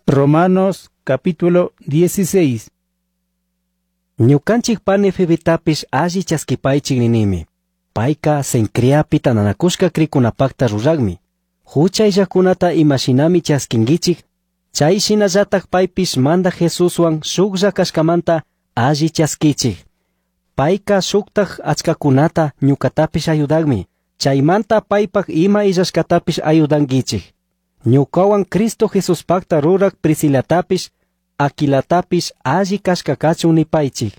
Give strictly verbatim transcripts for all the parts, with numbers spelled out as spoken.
Romanos capítulo dieciséis. Ñukanchik pani Febetapish alli chaskipaychik ninimi. Payka Cencreapi tantanakushka krikunapakta ruragmi. Hucha illakunata imashinami chaskinkichik, chay shinallatak paypish Mandaj Jesuswan shuklla kashkamanta alli chaskichik. Payka shuktak achkakunata ñukatapish ayudagmi. Chaymanta paypak ima illashkatapish ayudankichik. Ñukawan Cristo Jesuspakta rurak Priscilatapish, Aquilatapish alli kashka kachun nipaychik.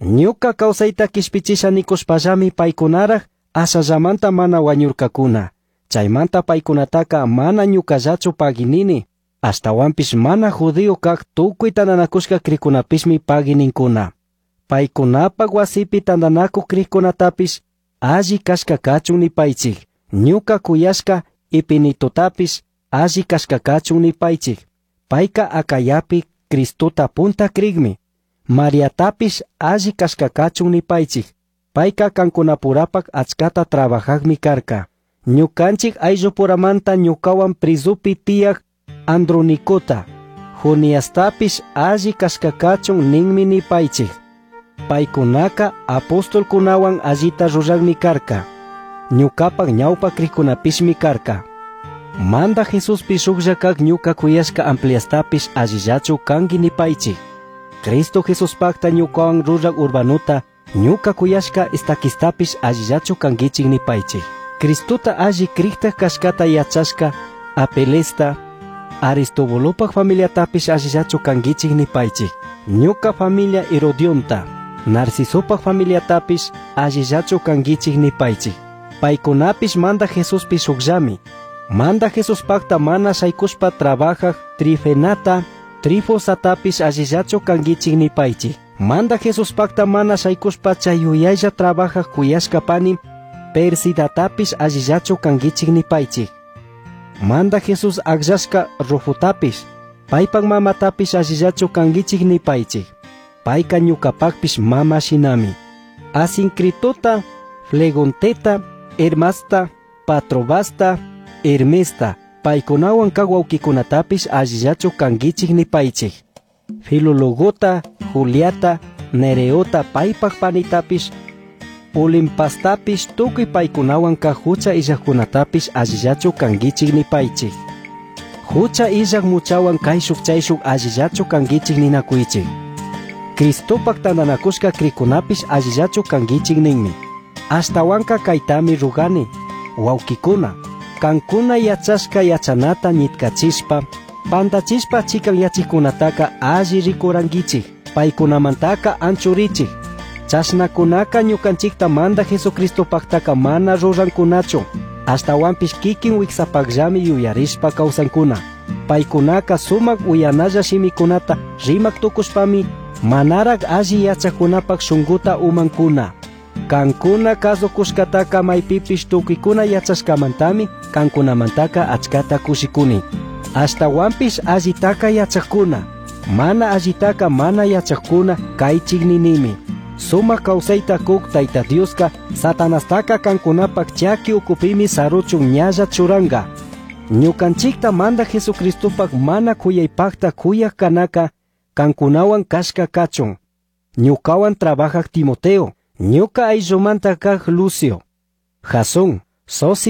Ñuka kawsayta kishpichisha nikushpallami paykunaraj ashallamanta mana wañurkakuna. Chaymanta paykunataka mana ñukallachu paginini, ashtawanpish mana judío kak tukuy tantanakushka krikunapismi pagininkuna. Paykunapak wasipi tantanakuk krikunatapish alli kashka kachun nipaychik. Ñuka kuyashka Epenetotapish alli kashka kachun nipaychik. Payka Acayapi Cristota punta krigmi. Mariatapish alli kashka kachun nipaychik. Payka kankunapurapak achkata trabajagmi karka. Ñukanchik ayllupuramanta ñukawan prizupi tiyaj Andronicota, Juniastapish alli kashka kachun ninmi nipaychik. Paykunaka apostolkunawan allita ruragmi karka. Ñukapak ñawpa krikunapishmi karka. Manda Jesuspi shuklla kak ñuka kuyashka Ampliastapish allillachu kanki nipaychik. Cristo Jesuspakta ñukawan rurag Urbanuta, ñuka kuyashka Estaquistapish allillachu kankichik nipaychik. Cristota alli kriktak kashkata yachashka Apelesta, Aristobulopaj familiatapish allillachu kankichik nipaychik. Ñuka familia Herodionta, Narcisopaj familiatapish allillachu kankichik nipaychik. Paykunapish Manda Jesuspi shukllami. Manda Jesuspakta mana shaykushpa trabajaj Trifenata, Trifosatapish allillachu kankichik nipaychik. Manda Jesuspakta mana shaykushpa chay yuyaylla trabajaj kuyashka pani Persidatapish allillachu kankichik nipaychik. Manda Jesús akllashka Rufutapish, paypak mamatapish allillachu kankichik nipaychik. Payka ñukapakpish mama shinami. Asincritota, Flegonteta, Hermasta, Patrobasta, Hermesta, paykunawan kak wawkikunatapish allillachu kankichik nipaychik. Filologota, Juliata, Nereota paypak panitapish, Olimpastapish tukuy paykunawan kak hucha illajkunatapish allillachu kankichik nipaychik. Hucha illaj muchawan kayshuk chayshuk allillachu kankichik ninakuychik. Cristopak tantanakushka krikunapish allillachu kankichik ninmi. Ashtawanka kaytami rugani, wawkikuna, kankuna yachashka yachanata ñitkachishpa, pantachishpa chikanyachikkunataka alli rikurankichik, paykunamantaka anchurichik. Chashnakunaka ñukanchikta Manda Jesucristopaktaka mana rurankunachu, ashtawanpish kikin wiksapakllami yuyarishpa kawsankuna. Paykunaka sumak uyanalla shimikunata rimak tukushpami manaraj alli yachakunapak shunkuta umankuna. Kankuna kasukushkataka maypipish tukuykuna yachashkamantami kankunamantaka achkata kushikuni. Ashtawanpish allitaka yachakuna, mana allitaka mana yachakuna kaychik ninimi. Sumak kawsayta kuk Tayta Dioska Satanastaka kankunapak chaki ukupimi saruchun ñalla churanka. Ñukanchikta Manda Jesucristopak mana kuyaypakta kuyak kanaka kankunawan kashka kachun. Ñukawan trabajak Timoteo, ñuka ayllumanta kak Lucio, Jasón, Sosi